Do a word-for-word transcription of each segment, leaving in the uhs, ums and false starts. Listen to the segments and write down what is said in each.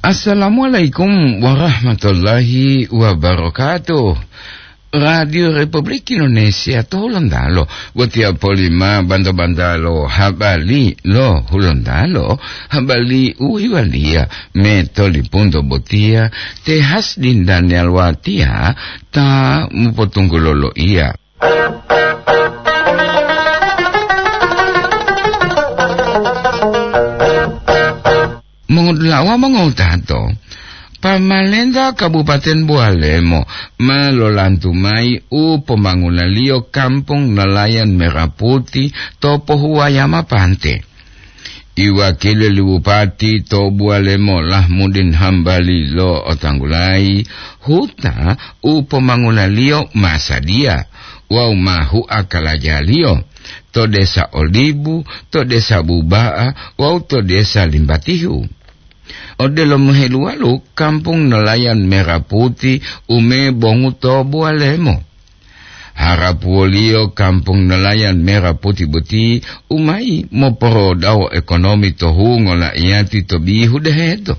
Assalamualaikum warahmatullahi wabarakatuh. Radio Republik Indonesia to Hulontalo, botiya polima banta-bantalo habari lo Hulontalo, habari u hewaliya me tolipunto botiya, te Hasdin Daniel Watiya ta mopotunggulo loiya. Mongodula'a wawu mongotato, pamalenta Kabupaten Bualemo ma lolantu mayi u pombangunaliyo Kampung Nelayan Merah Putih to Pohuwayama Pante. Iwakili li Bupati to Bualemo Lahmudin Hambali lo'otanggulayi huta u pombangunaliyo ma sadiya wawu ma hua kalajaliyo to Desa Olibu, to Desa Buba'a wawu to Desa Limbatihu. Odelo moheluwalu Kampung Nelayan Merah Putih u mebongu to Bualemo. Harapuwoliyo Kampung Nelayan Merah Putih boti u mayi moporodawo ekonomi to hungo la'iyati to bihu deheto.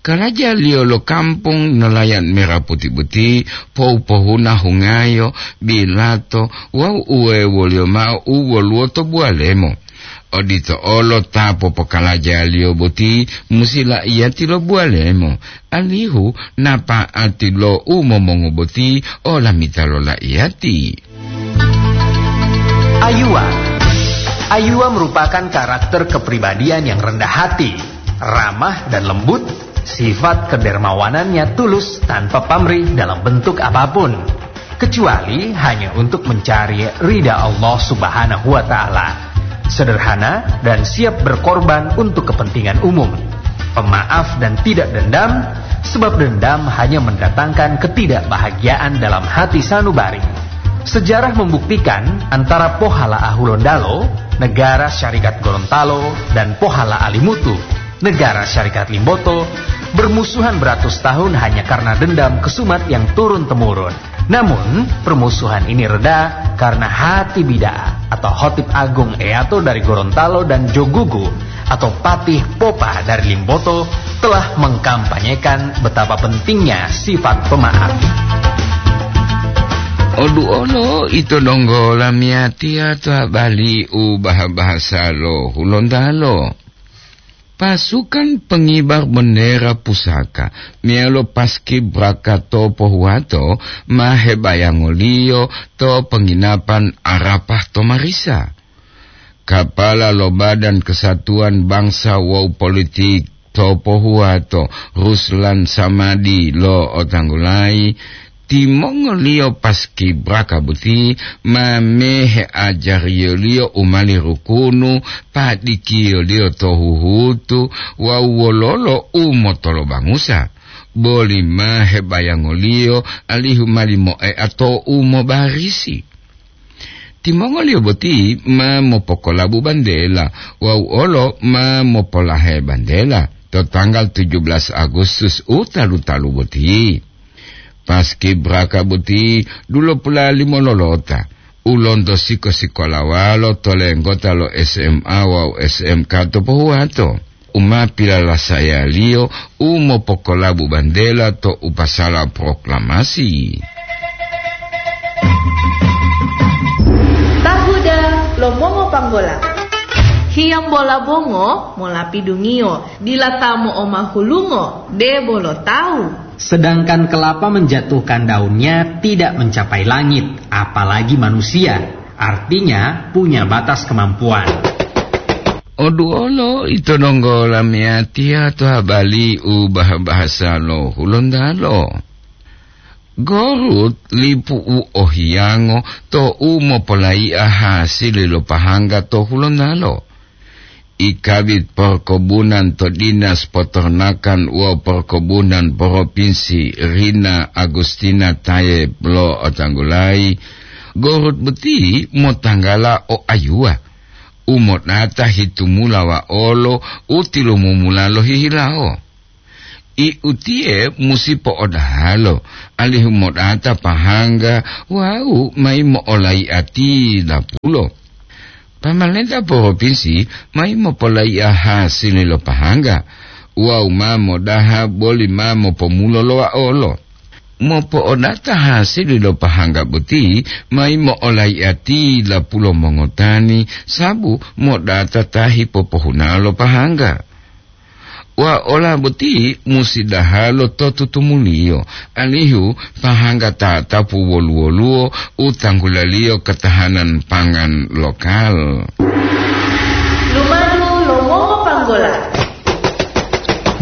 Kalajaliyo lo Kampung Nelayan Merah Putih boti pohu-pohuna hungayo, bilato wawu uwewoliyo ma'o u woluwo to Bualemo. Odito olo ta popokalajaliyo boti musi la'iyati lo Bualemo, alihu napa'ati lo u momongu boti olamita lo la'iyati. Ayuwa. Ayuwa merupakan karakter kepribadian yang rendah hati, ramah dan lembut, sifat kedermawanannya tulus tanpa pamrih dalam bentuk apapun, kecuali hanya untuk mencari ridha Allah Subhanahu wa Ta'ala. Sederhana dan siap berkorban untuk kepentingan umum. Pemaaf dan tidak dendam, sebab dendam hanya mendatangkan ketidakbahagiaan dalam hati sanubari. Sejarah membuktikan antara Pohala Ahulondalo, Negara Syarikat Gorontalo, dan Pohala Alimutu, Negara Syarikat Limboto, bermusuhan beratus tahun hanya karena dendam kesumat yang turun-temurun. Namun, permusuhan ini reda karena Hati Bida atau Hotip Agung Eato dari Gorontalo dan Jogugu atau Patih Popa dari Limboto telah mengkampanyekan betapa pentingnya sifat pemaaf. Odu olo ito donggo lamiyatiya to habari u baha-bahasa lo Hulontalo. Pasukan pengibar bendera pusaka meyalo paskibraka to pohuwato ma hebayangoliyo to penginapan Arafah to Marisa. Kapala lo Badan Kesatuan Bangsa wawu Politik to pohuwato, Ruslan Samadi lo'otanggulayi, timongoliyo paskibraka boti ma meheajariyoliyo u mali rukunu, padikiyoliyo to huhutu wawu wololo u motolobangusa, boli ma hebayangoliyo alihu mali moea to u mobarisi. Timongoliyo boti ma mopokolabu bantela wawu olo ma mopolahe bantela to tanggal tujuh belas Agustus u talu-talu boti. Paskibraka boti dulopula limo lolota, u lonto siko-sikolawalo to lenggota lo S M A wawu S M K to pohuwato, u ma pilalasayaliyo u mopokolabu bantela to u pasala proklamasi. Tahuda lo mongo panggola. Hiyambola bongo molapidungiyo, dila ta mo'omahulungo, debo lo tawu. Sedangkan kelapa menjatuhkan daunnya tidak mencapai langit, apalagi manusia. Artinya, punya batas kemampuan. Oduolo ito donggo lamiyatiya to habari u bah-bahasa lo Hulontalo. Gorut lipu u ohiyango to u mopolayi'a hasili lo pahangga to Hulontalo. I Kabid Porkobunan to Dinas Potornakan wawu Porkobunan Poropinsi, Rina Agustina Tayeb lo'otanggulayi, gorut boti motanggala o ayuwa u modata hitumula wa'olo u tilumumula lohihilawo. I utiye musi po'odahalo, alihu modata pahangga wawu mayi mo'olayi'ati dapulo. Pamalenta poropinsi mayi mopolayi'a hasili lo pahangga wawu ma modaha boli ma mopomulo lo waolo. Mopo'odata hasili lo pahangga boti, ma yimo'olaiya ti lapulo mongotani, sabu modata ta hipopohuna lo pahangga. Waola boti musi dahalo to tutumuliyo, alihu pahangga tatapu wolu-woluwo u tanggulaliyo ketahanan pangan lokal. Lumadu lo mongopanggola.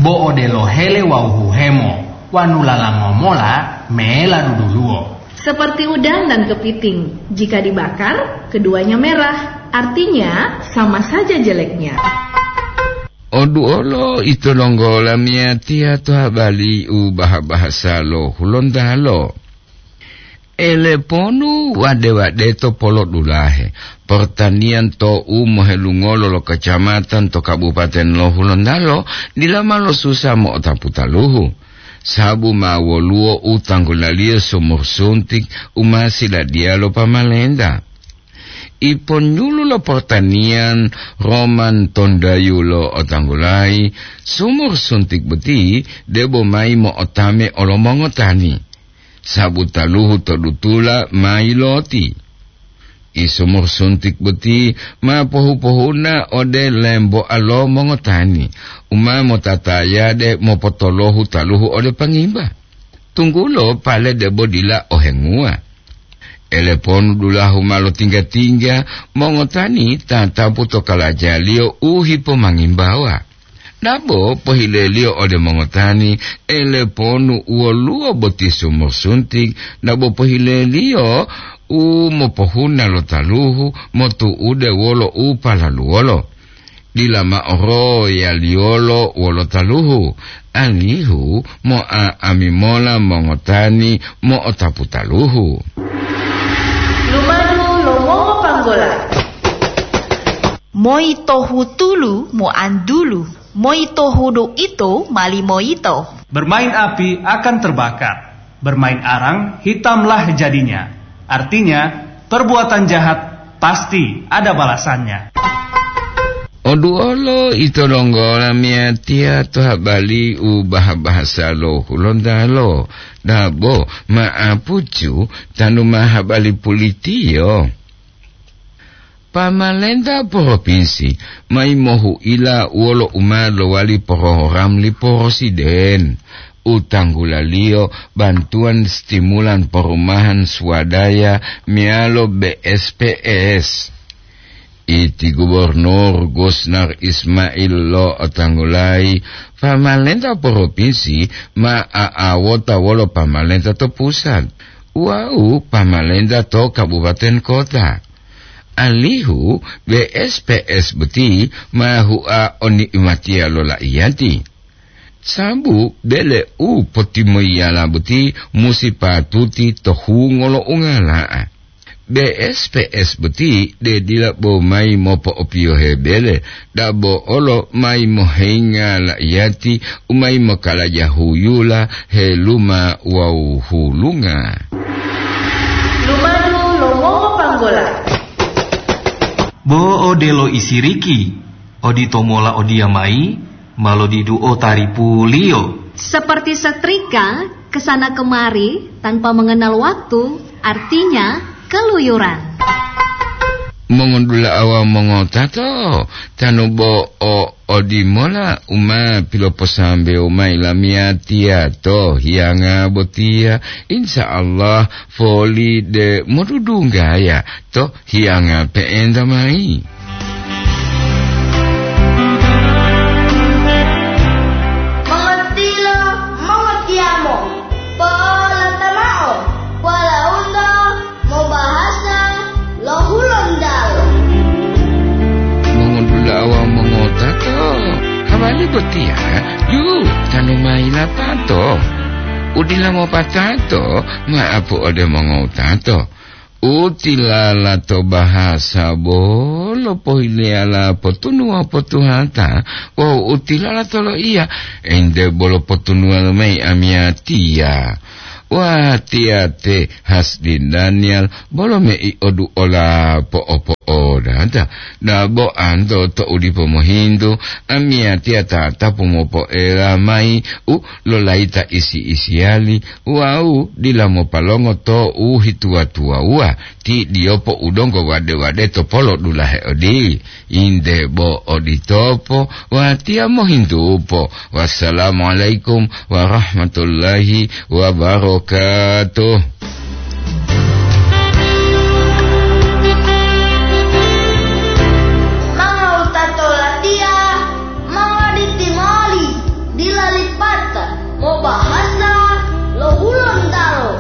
Bo odelo hele wawu huhemo, wanu lalango mola mela duduluwo. Seperti udang dan kepiting, jika dibakar, keduanya merah. Artinya, sama saja jeleknya. Oduolo ito donggo lamiyatiya to habali u baha-bahasa lo Hulontalo. Eleponu wade-wade to polodulahe, pertanian to u mohelungolo lo kecamatan to Kabupaten lo Hulontalo dila ma losusa mo'otapu taluhu, sabu ma woluwo u tanggulaliyo sumur suntik u ma siladiya lo pamalenta. Iponyulu lo pertanian Roman Tondayu lo otanggulayi, sumur suntik boti debo mayi mo'otame olo mongotani, sabu taluhu to dutula mayi loti. I sumur suntik boti ma pohu-pohuna ode lemboa lo mongotani, u ma motatayade mopotolohu taluhu ode pangimba, tunggulo pale debo dila ohenguwa. Eleponu dulahu ma lotingga-tingga mongotani tatapu to kalajaliyo u hipomangimbawa. Dabo pohileliyo ode mongotani, eleponu woluwo boti sumur suntik, dabo pohileliyo u mopohuna lo taluhu motu'ude wolo u palaluwolo. Dila mao royaliyolo wolo taluhu, alihu mo'a'ami mola mongotani mo'otapu taluhu. Lumadu lo mongopanggola. Moi tohu tulu moantulu, moi tohu do ito mali moyito. Bermain api akan terbakar, bermain arang hitamlah jadinya. Artinya, perbuatan jahat pasti ada balasannya. Oduolo ito donggo lamiyatiya to habali u baha-bahasa lo Hulontalo, dabo ma'apucu tanu ma habali pulitiyo. Pamalenta propinsi mayi mohu'ila wolo u ma lowali program li Presiden u tanggulaliyo bantuan stimulan perumahan swadaya meyalo B S P S. Iti Gubernur Gusnar Ismail lo otanggulayi, pamalenta propinsi ma a'awota wolo pamalenta to pusat wawu pamalenta to kabupaten kota. Alihu B S P S boti ma hua o ni'imatiya lo la'iyati. Sabu bele u potimoyiyala boti musi patuti to hungo lo ungala'a. B S P S boti de dila bo mayi mopo'opiyohe bele, dabo olo mayi mohenga la'iyati u mayi mokalaja huyula, heluma wawu hulunga. Lumadu lo mongopanggola. Bo odelo isiriki, odito mola odiyamayi ma lodiduo taripuliyo. Seperti setrika kesana kemari tanpa mengenal waktu, artinya keluyuran. Mongondula'a wawu mongotato, tanu bo o odimola u ma piloposambewo mayi lamiyatiya to hiyanga botiya, insya Allah foli de modudunggaya to hiyanga pe'enta mayi. Mongotilo, mongotiyamo, po'olata mao, walaundo mobahasa lo Hulontalo. Mongondula'a wawu mongotato, hawali botiya, yu, tanu mayi lapato. Udila mopatato, ma'apu ode mongotato. Utilala to bahasa bolo pohileyala potunuwa potuhata, wawu utilala to loiya, ente bolo potunuwa mayi amiyatiya. Wah, tiyate Hasdi Daniel bolo mei oduola po'opo O dada, dabo anto to u dipo mohintu, amiyatiya tatapu mopoela mayi u lolayita isi-isiyali, wawu dila mopalongo to u hituwa-tuwawuwa, ti diyopo u donggo wade-wade to polo dulahe odi. Inde bo oditopo, watiya mohintupo. Wassalamualaikum warahmatullahi wabarakatuh.